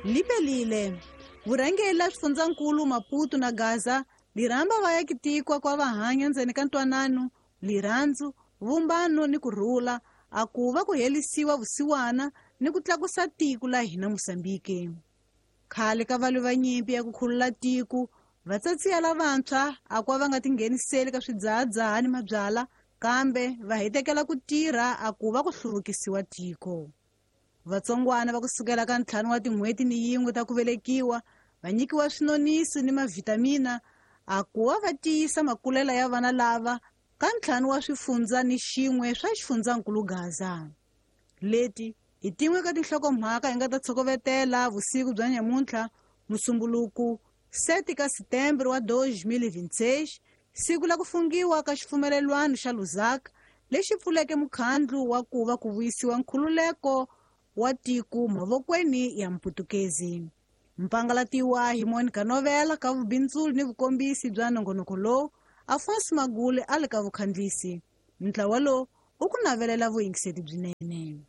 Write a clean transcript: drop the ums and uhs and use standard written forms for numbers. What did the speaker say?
Lipelile vurhangeri la swifundzankulu Maputo na Gaza lirhamba vayakitikwa kwa vahanya ndzeni ka ntwanano, lirhandzu, vumbano ni kurhula, a ku va ku helisiwa vusiwana ni ku tlakusa tiko la hina Mosambiki. Khale ka valwi va nyimpi ya ku khulula tiko, vatsatsiya lavantshwa a kwa va nga tingheniseli ka swidzahadzaha ni mabyala, kambe va hitekela ku tirha a ku va ku hluvukisiwa tiko. Vatsongwana va kusukela ka 5 wa tin'hweti ni 1 ta ku velekiwa va nyikiwa swinonisi ni mavhitamina a ku va va tiyisa makulela ya vana lava ka 5 wa swifundza ni xin'we swa xifundzankulu Gaza. Leti hi tin'we ka tinhlokomhaka hi nga ta tshokovetela vusiku bya nyamuntlha, Musumbuluku 7 ka Setembro wa 2026, siku la ku fungiwa ka xipfumelelwano xa Lusaka lexi pfuleke mukhandlu wa ku va ku vuyisiwa nkhululeko wa tiko mavokweni ya Mputukezi. Mpangalatiwa hi Monica Novela ka vubindzuli ni vukombisi bya nongonoko lowu, Afonso Magule a le ka vukhandlisi. Ntlawa lowu u ku navelela vuyingiseti byinene.